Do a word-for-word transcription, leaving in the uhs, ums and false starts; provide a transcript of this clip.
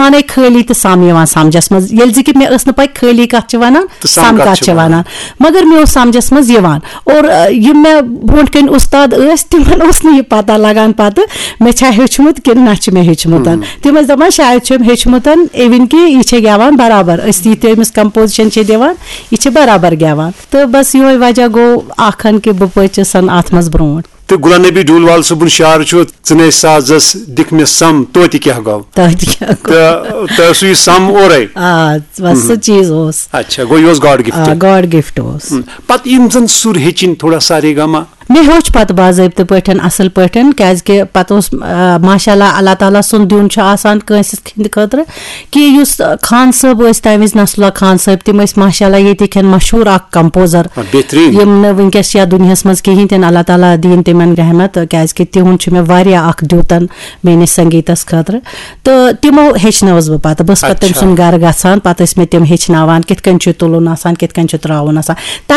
پانے خٲلی تہٕ سم یِوان سمجھس منٛز، ییٚلہِ زِ کہِ مےٚ ٲس نہٕ پَے خٲلی کَتھ چھِ وَنان، تہٕ سم سم کَتھ کَتھ چھِ چھِ وَنان۔ وَنان۔ مگر مےٚ اوس سمجھس منٛز یِوان۔ اور، آ، یِم مےٚ برونٛٹھ کَنہِ اُستاد ٲسۍ، تِمن اوس نہٕ یہِ پَتہ لَگان پَتہٕ مےٚ چھا ہیوٚچھمُت کِنہٕ نہ چھُ مےٚ ہیوٚچھمُت۔ تِم ٲسۍ دَپان، "شاید چھُ أمۍ ہیوٚچھمُت، even کہِ یہِ چھےٚ گٮ۪وان برابر، أسۍ یہِ تہِ أمِس composition چھِ دِوان، یہِ چھِ برابر گٮ۪وان۔" تہٕ بس یِہوٚے وجہ گوٚو اَکھ ہن کہِ بہٕ پٔچِس اَتھ منٛز برونٛٹھ۔ تہٕ غلام نبی ڈوٗنۍ وال صٲبُن شعر چھُ، "ژٕ نے سازس دِکھ مےٚ سم، توتہِ کیٛاہ گوٚو؟" توتہِ کیٛاہ گوٚو؟ تہٕ تۄہہِ اوسوٕ یہِ سم اورَے؟ آ، بس سُہ چیٖز اوس۔ اچھا، گوٚو یہِ اوس God gift۔ آ، God gift اوس۔ ہم۔ پتہٕ یِم زن سُر ہیٚچھِنۍ تھوڑا سا رے گا ما؟ مےٚ ہیوٚچھ پتہٕ باضٲبطہٕ پٲٹھۍ، اصل پٲٹھۍ، کیازِ کہِ پتہٕ اوس، آ، ماشاء اللہ، اللہ تعالیٰ سُنٛد دیُن چھُ آسان کٲنٛسہِ ہٕنٛدِ خٲطرٕ، کہِ یُس خان صٲب ٲسۍ تمہِ وِزِ، نصراللہ خان صٲب، تِم ٲسۍ ماشاء اللہ ییٚتِکۍ مشہوٗر اکھ composer، آ، بہتریٖن۔ یِم نہٕ وٕنکیٚس چھِ یتھ دُنیاہس منٛز کِہیٖنۍ تہِ نہٕ، اللہ تعالیٰ دِیِن تِمن رحمت، کیازِ کہِ تِہُنٛد چھُ مےٚ واریاہ اکھ دیُتن میٲنِس سنگیٖتس خٲطرٕ۔ تہٕ تِمو ہیٚچھنٲوٕس بہٕ پتہٕ، بہٕ ٲسٕس پتہٕ تٔمۍ اچھا۔ سُنٛد گرٕ گژھان، پتہٕ ٲسۍ مےٚ تِم ہیٚچھناوان کِتھ کٔنۍ چھُ تُلُن آسان، کِتھ کٔنۍ چھُ ترٛاوُن آسان۔